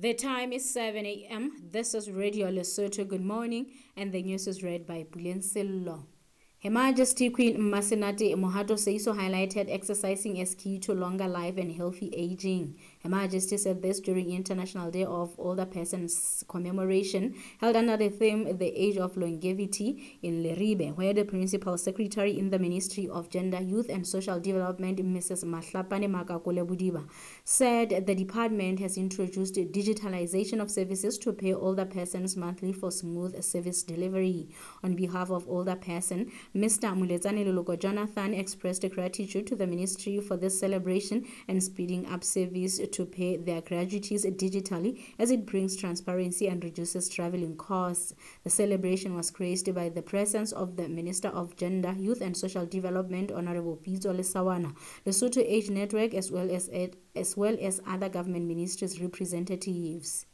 The time is 7 a.m. This is Radio Lesotho. Good morning, and the news is read by Puleng Sello. Her Majesty Queen Mmasenate Mohato Seeiso highlighted exercising as key to longer life and healthy aging. Her Majesty said this during International Day of Older Persons commemoration held under the theme The Age of Longevity in Leribe, where the Principal Secretary in the Ministry of Gender, Youth and Social Development, Mrs. Mahlapane Makakole Bodiba, said the department has introduced digitalization of services to pay older persons monthly for smooth service delivery. On behalf of older person, Mr. Muletsane Leloko Jonathan expressed gratitude to the ministry for this celebration and speeding up service to pay their gratuities digitally, as it brings transparency and reduces traveling costs. The celebration was graced by the presence of the Minister of Gender, Youth and Social Development, Honorable Pitso Lesaoana, Lesotho Age Network, as well as other government ministries representatives.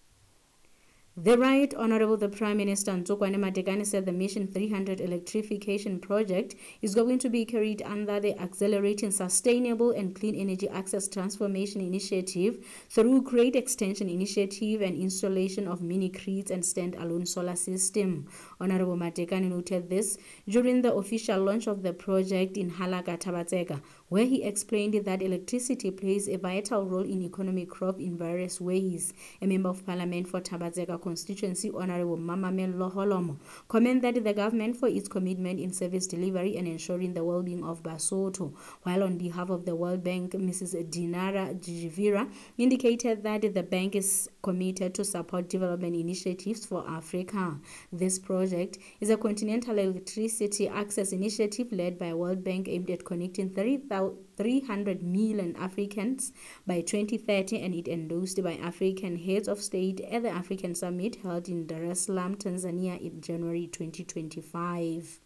The Right Honorable the Prime Minister Ntsokoane Matekane said the Mission 300 electrification project is going to be carried under the Accelerating Sustainable and Clean Energy Access Transformation Initiative through Great Extension Initiative and installation of mini-grids and standalone solar system. Honorable Matekane noted this during the official launch of the project in Halaka, Thaba-Tseka, where he explained that electricity plays a vital role in economic growth in various ways. A member of Parliament for Thaba-Tseka constituency, Honorable Mamamello Holomo, commended the government for its commitment in service delivery and ensuring the well-being of Basotho. While on behalf of the World Bank, Mrs. Dinara Jivira indicated that the bank is committed to support development initiatives for Africa. This project is a continental electricity access initiative led by World Bank aimed at connecting 300 million Africans by 2030, and it endorsed by African heads of state at the African Summit held in Dar es Salaam, Tanzania in January 2025.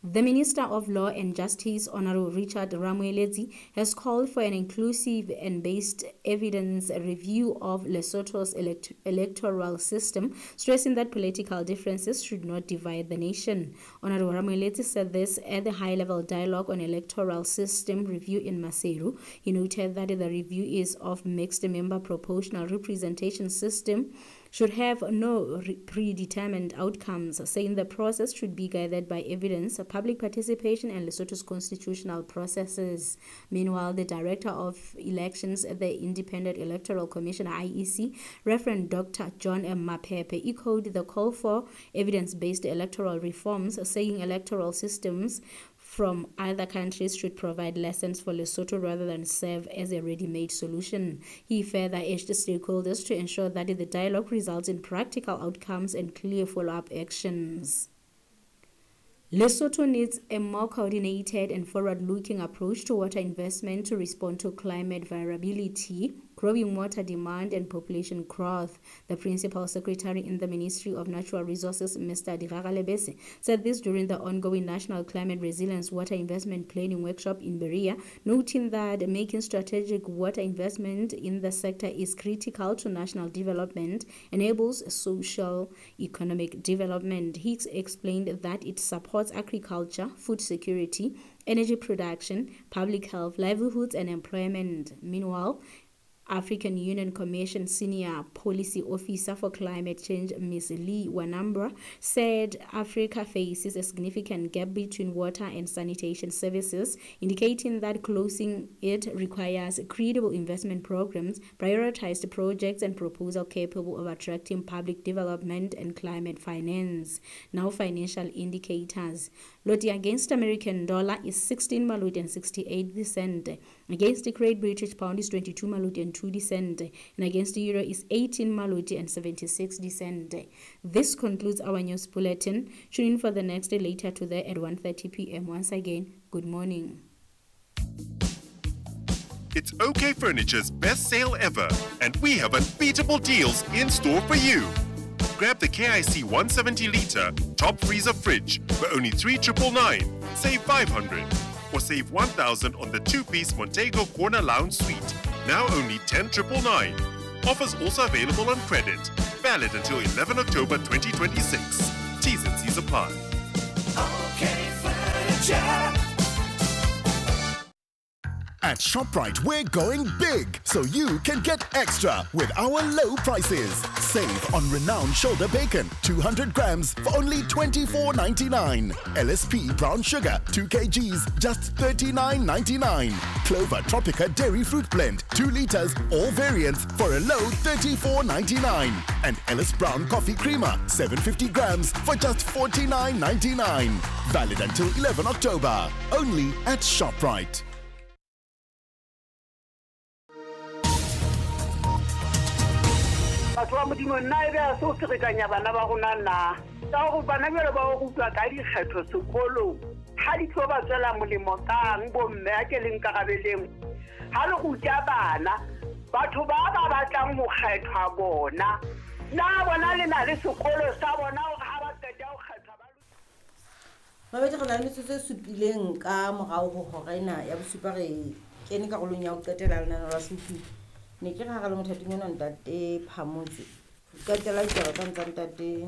The Minister of Law and Justice, Honorable Richard Ramoeletsi, has called for an inclusive and based evidence review of Lesotho's electoral system, stressing that political differences should not divide the nation. Honorable Ramoeletsi said this at the high-level dialogue on electoral system review in Maseru. He noted that the review is of mixed member proportional representation system should have no predetermined outcomes, saying the process should be guided by evidence, public participation, and Lesotho's constitutional processes. Meanwhile, the Director of Elections at the Independent Electoral Commission, IEC, Reverend Dr. John M. Mapepe, echoed the call for evidence-based electoral reforms, saying electoral systems from other countries should provide lessons for Lesotho rather than serve as a ready-made solution. He further urged stakeholders to ensure that the dialogue results in practical outcomes and clear follow-up actions. Lesotho needs a more coordinated and forward-looking approach to water investment to respond to climate variability, growing water demand, and population growth. The Principal Secretary in the Ministry of Natural Resources, Mr. Diraga Lebese, said this during the ongoing National Climate Resilience Water Investment Planning Workshop in Berea, noting that making strategic water investment in the sector is critical to national development, enables social economic development. He explained that it supports agriculture, food security, energy production, public health, livelihoods, and employment. Meanwhile, African Union Commission Senior Policy Officer for Climate Change, Ms. Lee Wanambra, said Africa faces a significant gap between water and sanitation services, indicating that closing it requires credible investment programs, prioritized projects, and proposals capable of attracting public development and climate finance. Now, financial indicators. Loti against American dollar is 16 maloti and 68 cent. Against the Great British Pound is 22 maloti and 2 cent, and against the euro is 18 maloti and 76 cent. This concludes our news bulletin. Tune in for the next day later today at 1:30 p.m. Once again, good morning. It's OK Furniture's best sale ever, and we have unbeatable deals in store for you. Grab the KIC 170 litre top freezer fridge for only 3,999, save 500, or save 1,000 on the two-piece Montego Corner Lounge Suite, now only 10,999. Offers also available on credit. Valid until 11 October 2026. T's and C's apply. Okay, Furniture. At ShopRite, we're going big so you can get extra with our low prices. Save on renowned shoulder bacon, 200 grams for only $24.99. LSP brown sugar, 2 kgs, just $39.99. Clover Tropica dairy fruit blend, 2 liters, all variants for a low $34.99. And Ellis Brown coffee creamer, 750 grams for just $49.99. Valid until 11 October. Only at ShopRite. Batho ba Modimo, nna e be a se o ferekanya bana ba rona na? Ka gore bana bjalo ba o rutwa ka dikgetho sekolong, ga di tlo ba tswela molemo kang bomme a ke le nkarabeleng? Ha le ruta bana, batho ba ba batlang ho kgethwa bona, na bona le na le sekolo sa bona hore ha ba qeta ho kgethwa ba Mabedi re na le metsotso e supileng ka morao ho hora ena ya bosupa re kene karolong ya ho qetela lenaneo la Supi. Ne ke re ha re le mothating ona ntate Phamotse. Qetela ditaba tsa ntsa ntate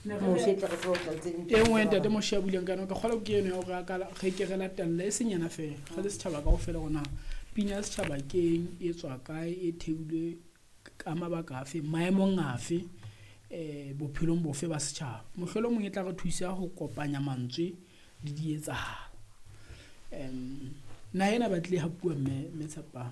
Moshe tle re tsebe ho tla tse ding. E nngwe ntate Moshe a buileng ka yona, ka kgolwa ke eno ya hore a ka re ke re latelle e seng yena feela, re le setjhaba kaofela hore na pina ya setjhaba ke eng, e tswa kae, e theilwe ka mabaka afe, maemong afe, bophelong bofe ba setjhaba. Mohlolomong e tla re thusa ho kopanya mantswe le dietsahalo. Naha ena ba tlile hapuwa mme Tshepang,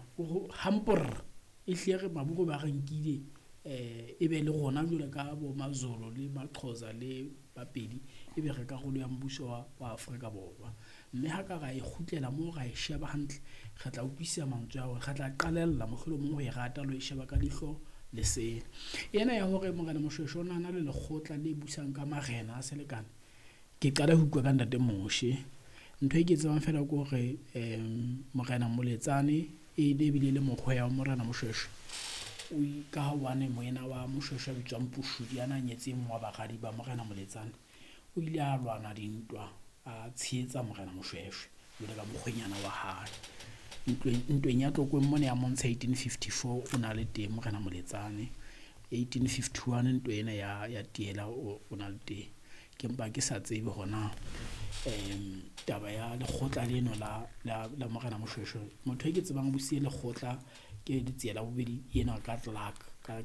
hamporra e hlile re maburu ba re nkile e be le rona jwalo ka bo Mazolo le Maxhosa le Bapedi, e be re karolo ya mmuso wa Afrika Borwa. Mme ha ka ra e kgutlela moo ra e sheba hantle, re tla utlwisisa mantswe ao, re tla qalella mohlolomong ho e rata le ho e sheba ka leihlo le sele. Ena ya hore Morena Moshoeshoe o na le lekgotla le busang ka marena a selekane, ke qala ho utlwa ka ntate Moshe. Ntho e ke tsebang feela ke hore Morena Moletsane e ne ebile le mokgweya wa Morena Moshoeshoe, o ka hobane moena wa Moshoeshoe a bitswang Pushudi a na nyetse e mong wa baradi ba Morena Moletsane, o ile a lwana dintwa a tshehetsa Morena Moshoeshoe jwalo ka mokgwenyana wa hae. Ntweng ya Tlokweng mona ya Montsha 1854 o na le teng Morena Moletsane, 1851 ntwa ena ya Tiela o na le teng. Ke mpa ke sa tsebe hona taba ya lekgotla leno la Morena Moshoeshoe. Motho e ke tsebang o siye lekgotla ke Letsie la bobedi ena ka Clark, ka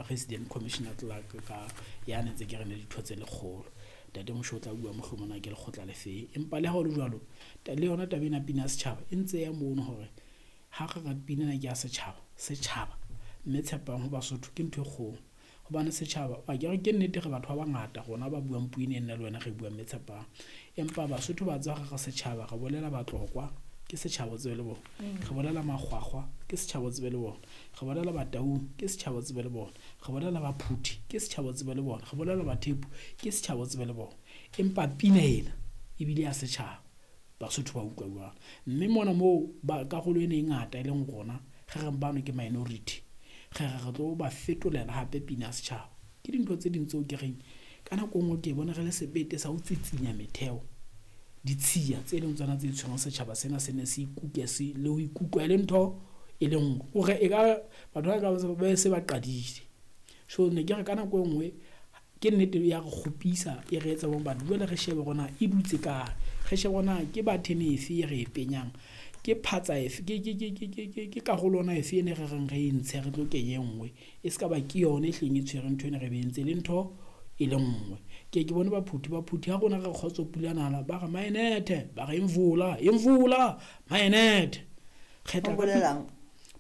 Resident Commissioner Clark, ka ya ne ntse ke re ne ditho tse lekgolo. Ntate Moshe o tla bua mohlomong na ke lekgotla le feng. Empa le ha ho le jwalo, le yona taba ena pina ya setjhaba e ntse ya mono hore ha re re pina ena ke ya setjhaba, setjhaba mme Tshepang ho Basotho ke ntho e kgolo. Hobane setjhaba, a ke re ke nnete re batho ba bangata rona ba buang puo ena nna le wena re buang mme Tshepang. Empa Basotho ba tswa re setjhaba, re bolela Batlokwa ke setjhaba tsebe le bona, re bolela Makgwakgwa ke setjhaba tsebe le bona, re bolela Bataung ke setjhaba tsebe le bona, re bolela Baphuthi ke setjhaba tsebe le bona, re bolela Bathepu ke setjhaba tsebe le bona. Empa pina ena ebile ya setjhaba, Basotho ba utlwa jwang. Mme mona moo ba karolo ena e ngata e leng rona re reng bano ke minority, re re re tlo ba fetolela hape pina ya setjhaba. Ke dintho tse ding tseo ke reng ka nako e nngwe ke bona re le sebete sa ho tsitsinya metheo, ditshiya tse leng tsona tse tshwereng setjhaba sena se ne se ikuke se le ho ikutlwa e le ntho e le nngwe. Hore e ka batho ba ka ba se ba qadile. So ne ke re ka nako e nngwe ke nnete ya re kgopisa e re etsa hore batho jwale re shebe hore na e dutse kae, re shebe hore na ke button efe e re e penyang, ke phatsa efe, ke karolo ona efe e ne re reng re e ntshe re tlo kenya e nngwe, e se ka ba ke yona e hleng e tshwere ntho ena re be entse le ntho e le nngwe. Ke ke bone Baphuthi ha rona re kgotso pula nala ba re maenethe, ba re imvula, imvula, maenethe. Kgetla Bolelang?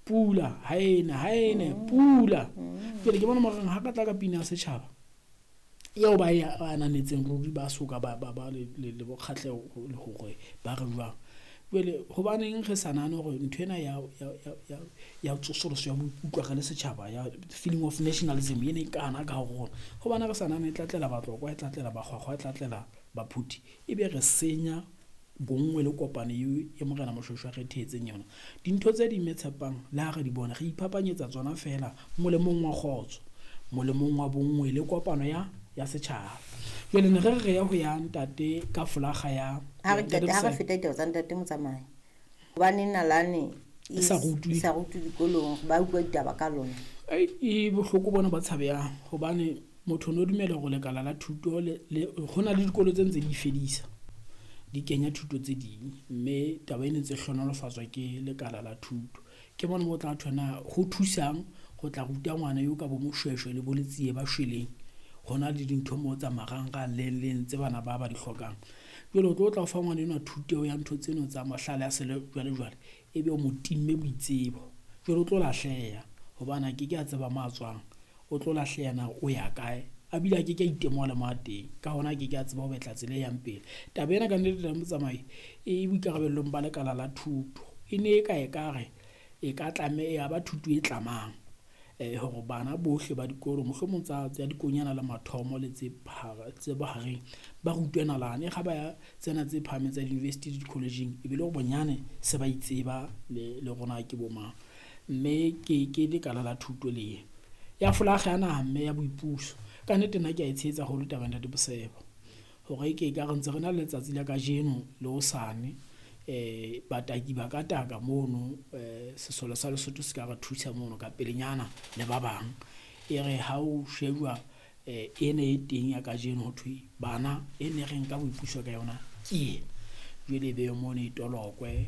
Pula, ha ena, ha ene, pula. Jwale ke bona moreng ha ka tla ka pina ya setjhaba eo ba e ananetseng ruri ba soka ba le bokgahleho le hore ba re jwang. Jwale hobaneng re sa nahane hore ntho ena ya tsosoloso ya boikutlwa re le setjhaba, ya feeling of nationalism ene e kana ka ho rona, hobane re sa nahane e tla tlela Batlokwa, e tla tlela Bakgwakgwa, e tla tlela Baphuthi, ebe re senya bonngwe le kopano eo e Morena Moshoeshoe a re thehetseng yona. Dintho tse ding mme Tshepang le ha re di bona re iphapanyetsa tsona feela molemong wa kgotso, molemong wa bonngwe le kopano ya setjhaba. Jwale ne re re ya ho ya ntate ka folaga ya Ha re qeta, ha re feta ditaba tsa ntate Motsamai, hobane nalane E sa rutwe. e sa rutwe dikolong, ba utlwa ditaba ka lona. E bohloko bona ba tshabehang, hobane motho o no dumela hore lekala la thuto le ho na le dikolo tse ntse di fedisa. Di kenya thuto tse ding, mme taba ena e ntse hlohonolofatswa ke lekala la thuto. Ke mona mo tla thona ho thusang ho tla ruta ngwana eo ka bo moshweshwe le bo letsie ba shweleng. Hona le dintho moo tsa marangrang leng leng tse bana ba ba di hlokang. Jwale o tlo tla o fa ngwana enwa thuto ya ntho tseno tsa mahlale a sejwalejwale, ebe o mo timme boitsebo. Jwale o tlo lahleha hobane a keke a tseba mo a tswang, o tlo lahleha na o ya kae, a bile a keke a itemoha le mo a teng. Ka hona a keke a tseba ho betla tsela e yang pele. Taba ena kannete ntate Motsamai e boikarabellong ba lekala la thuto. E ne e ka ekare e ka tlameha ba thuto e tlamang hore bana bohle ba dikolo mohlomong tsa dikonyana le mathomo le tse tse bohareng ba rutwe nalane. Ha ba ya tsena tse phahameng tsa di-university le di-college-ing e be le hore bonyane se ba itseba le rona ke bo mang. Mme ke lekala la thuto le ya folakga ya naha mme ya boipuso. Ka nnete nna ke a e tshehetsa haholo taba ya ntate Bosebo hore ke ekare ntse re na le letsatsi la kajeno le hosane. Bataki ba ka taka mono, sesole sa Lesotho se ka re thusa mono ka pelenyana le ba bang. E re ha o shebuwa ena e teng ya kajeno ho thwe bana e ne re nka boipuso ka yona ke ena. Jwale e be mono e tolokwe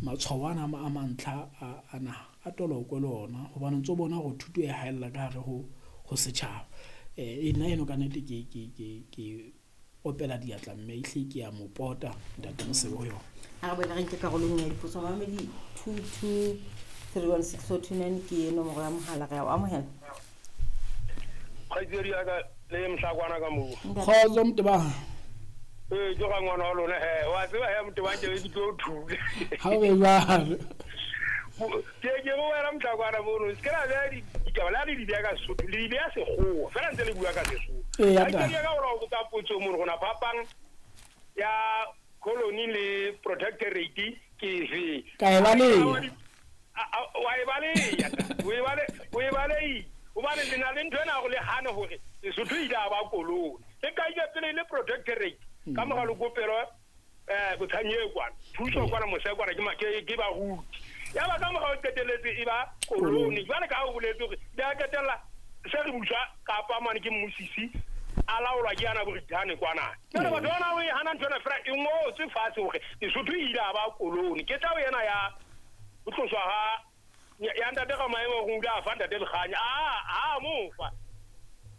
matshwao ana a mantlha a naha a tolokwe le ona hobane o ntso bona hore thuto e haella ka hare ho setjhaba. Nna eno kannete ke opela diatla mme ehlile ke a mo pota ntate Mosebo ho yona. Ha re boela re nke karolong ya dipotso mamedi 22316429 ke nomoro ya mohala, re a o amohela. Kgaitsedi ya ka le mohlakwana ka moo. Kgotso Motebang. Ee, ke ga ngwana wa lona he. Wa tseba he Motebang ke ke tlo thule. Ha o be jwalo. Ke go wena mohlakwana mono. Se ke la beha ditaba le ha le di beha ka Sesotho, le di beha Sekgowa. Feela ntse le bua ka Sesotho. Ee, ya Kgaitsedi ya ka o la o botsa potso mono gona phapang ya colony le protectorate ke efe? Ka e baleha. Wa e baleha, o e baleha. Hobane le na le ntho ena hore le hane hore Lesotho ile a ba koloni. Le kaile pele le protectorate ka mora lekopelo Botsanye kwana, thuso kwana mose kwana ke baruti. Ya ba ka mora o qetelletse e ba koloni. Jwale ka ha o boletse hore di a qetella se re buswa kapa mane ke mmusisi a laolwa ke yana Brithani kwana. Jwale batho bana o e hana ntho ena fela e ngotswe fatshe hore Lesotho e ile a ba koloni. Ke tla o ena ya ho tloswa ha ya ntate ka maemo ho ile a fa ntate Lekganya. A mo fa.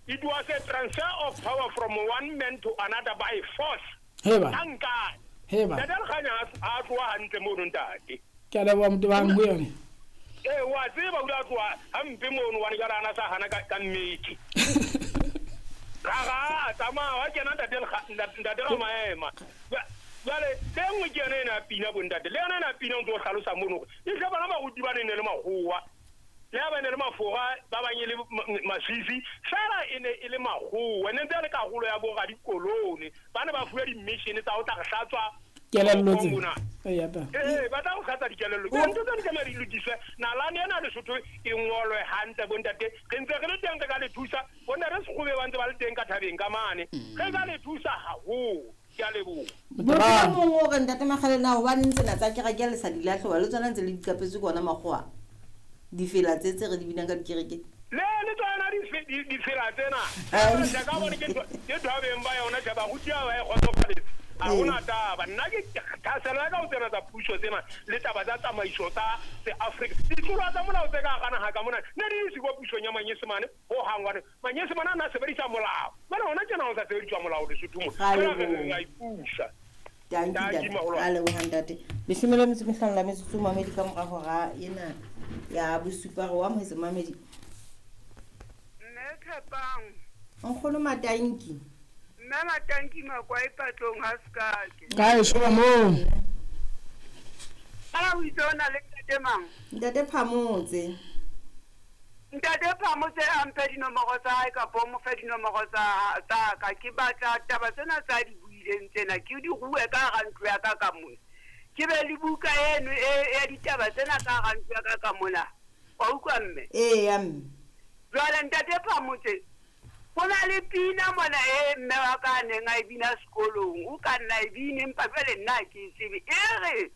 It was a transfer of power from one man to another by force. Heba. Nka. Heba. Ntate Lekganya a tloha hantle mono ntate. Ke a leboha Motebang ho yone. Ee, wa tseba o ile a tloha hampe mono hobane jwale a na sa hana ka mmeke. Ra a tsamaya wa kena ntate Ramaema. Jwale tse nngwe ke yona ena ya pina bo ntate. Le yona ena ya pina o ntso hlalosa mono hore e hle bana baruti ba ne le makgowa. Le ha ba ne le mafora ba bang e le Maswisi, fela e ne e le makgowa. Ne ntse le karolo ya bo radikolone. Ba ne ba fuwe di-mission tsa ho tla re hlatswa kelello tse. Ee, ee, ba tla go hlatswa dikelello. Ke ntho tse di tlameha di lokiswe. Nalane ena Lesotho e ngolwe hantle bo ntate. Re ntse re le teng re ka le thusa. Bo ntate Sekgobe ba ntse ba le teng ka thabeng ka mane. Re ka le thusa haholo. Ke a leboha. Motho e mong o re ntate Makgale na hobaneng tsena tsa kereke le sa di lahle hoba le tsona ntse le di qapetse ke ona makgowa? Difela tse tse re di binang ka dikereke. Le tsona difela tsena. Ka bone ke ntho ba yona tjhe baruti ba e kgotsofaletse. Ha hona taba. Nna ke thaselo ya ka ho tsena tsa puso tsena le taba tsa tsamaiso tsa se-Afrika. Ditlolo tsa molao tse ka hara naha ka mona ne di se kwa pusong ya Manyesemane ho hang hobane Manyesemane a na sebedisa molao. Jwale hona tjena ho sa sebediswa molao Lesotho mona. Ra Re a ipusa. Tanki ntate. A leboha ntate. 15 la metsotso mamedi ka mora hora ena ya bosupa re o amohetse mamedi. Mme Tshepang. Nkgono Matanki. Mme Matanki Makwai patlong ha sekake. Kae so mo? Ala o itse o na le ntate mang? Ntate Phamotse. Ntate Phamotse a mphe dinomoro tsa hae kapa o mo fe dinomoro tsa ka. Ke batla taba tsena tsa di buileng tsena ke di rue ka hara ntlo ya ka ka mona. Ke be le buka eno ya ditaba tsena ka hara ntlo ya ka ka mona. Wa utlwa mme? Ee, ya mme. Jwale ntate Phamotse, ho na le pina mona e mme wa ka a neng a e bina sekolong. O ka nna e bine empa jwale nna ha ke e tsebe. E re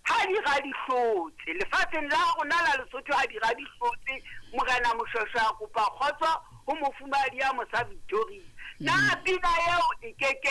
ha di ga di hlotse lefatsheng la rona la Lesotho, ha di ga di hlotse morena Moshweshwe a kopa kgotso ho mofumahadi ya mosa Victoria. Na pina eo e ke ke